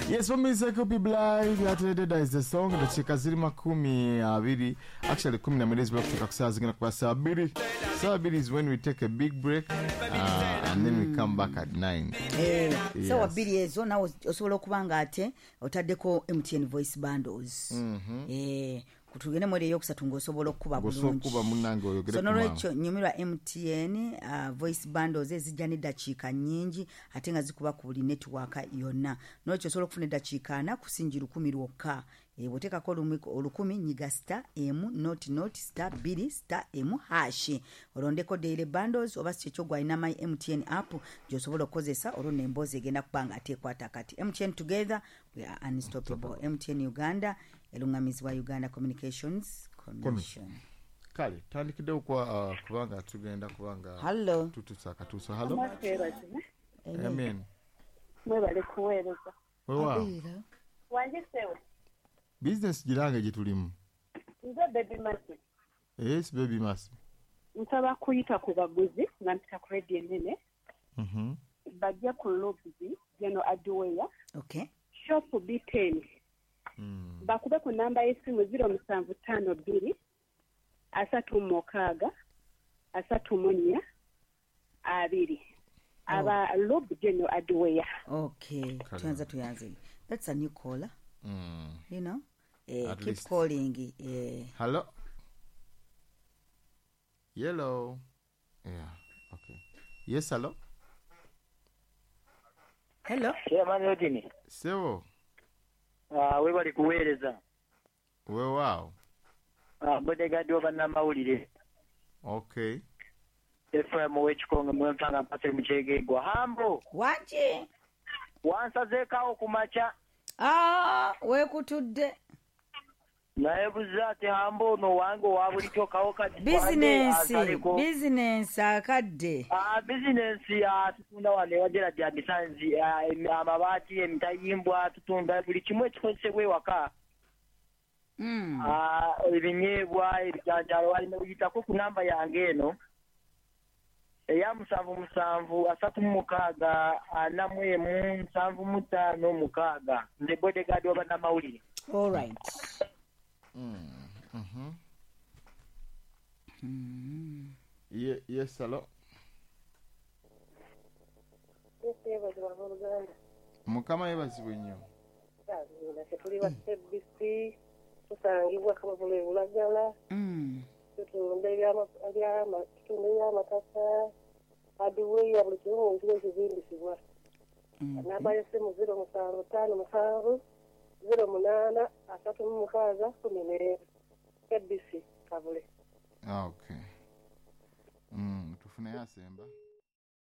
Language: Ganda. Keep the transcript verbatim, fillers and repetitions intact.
Yes, for me, Coopy Blythe, that is the song. Dakika ziri makumi abiri. Actually, kumi na mbili zibula kutoka ku saa zigenda kuba saa bbiri. Saa bbiri is when we take a big break uh, and then we come back at nine. Eh, Yes. Sawa bbiri ezo nawe osobola okuba nga ate otaddeko M T N voice bundles. Mhm. Eh, kutugende mu eyokusatu ng'osobola okukuba Ng'osobola bulungi. okukuba munnange oyogere So ku maama. Nolwekyo nyumirwa M T N uh, voice bundles ezijja n'eddakiika nnyingi ate nga zikuba ku buli network yonna. Nolwekyo osobola okufuna eddakiika ana kusingi lukumi lwokka. Eh, bw'oteekako olumi- olukumi nyiga star emu nought nought star bbiri star emu hash, olondeko daily bundles, oba si kyekyo gwalina My M T N app gy'osobola okukozesa, olwo nemboozi egenda kuba nga ate ekwata kati. M T N, together we are unstoppable. M T N Uganda eluŋŋamizibwa Uganda Communications Commission. Kale tandikiddewo kwa uh, kubanga tugenda kubanga Hallo. Tutusa akatuuso. Hallo. Mwebazibwe. Amen. Mwebale kuweereza. Weewaawo. Wange sewe. Bizinesi girange gye tulimu. Nze Baby Masi. Yes, Baby Masi. Nsaba kuyita ku baguzi nga mpita ku radio ennene. Mhm. Bajje ku Lubzi General Hardware, okay shop B ten. Mm. Bakube ku namba y'essimu zero musanvu ttaano bbiri asatu mu mukaaga asatu mu nnya abiri. Aba Lub General Hardware. Okay. Kale. Tuyanza, tuyanze. That's a new caller. Mm. you know eh, At keep least. calling, eh. Hello. Yellow. Yeah. Okay. Yes, hello. Hello. Chairman Odini, Sebo. uh, webali kuweereza. Weewaawo. Uh, bodyguard wa bannamawulire. Okay. F M w'ekikonge mwempanga mpase mukyegegwa. Hambo, Wangi. Wansazeekawo ku makya. Ah, weekutudde. Naye buza ati Hambo ono wange owa bulijjo kawo kati Bizinensi. Asaleko. Bizinensi akadde. Ah, bizinensi, ah, tutunda wano ewa Gerard Abisanzi, ah, em- amabaati, emitayimbwa, tutunda buli kimu ekikozesebwa ewaka. Mm. Ah, ebinyeebwa, ebijanjaalo, walina uyitako ku namba yange eno eya musanvu musanvu asatu mu mukaaga ana mu emu nsanvu mu ttaano mukaaga. Nze bodyguard wa bannamawulire. All right. Mm. Mhm. Ye, yes, hello. Yeebazibwa abooluganda. Mukama yeebazibwe nnyo. Naffe tuli ba C B C, tusangibwa Kabavule Bulagala. Mm. Tutunda ebyama- ebyama- tutunda ebyamataka, hardware, buli kimu mu ekizimbisibwa. Namba y'essimu zero musanvu ttaano musanvu zero munaana asatu mu mukaaga kumi n'emu. K B C Kavule. Ah, okay. Mm, tufuneyo asemba.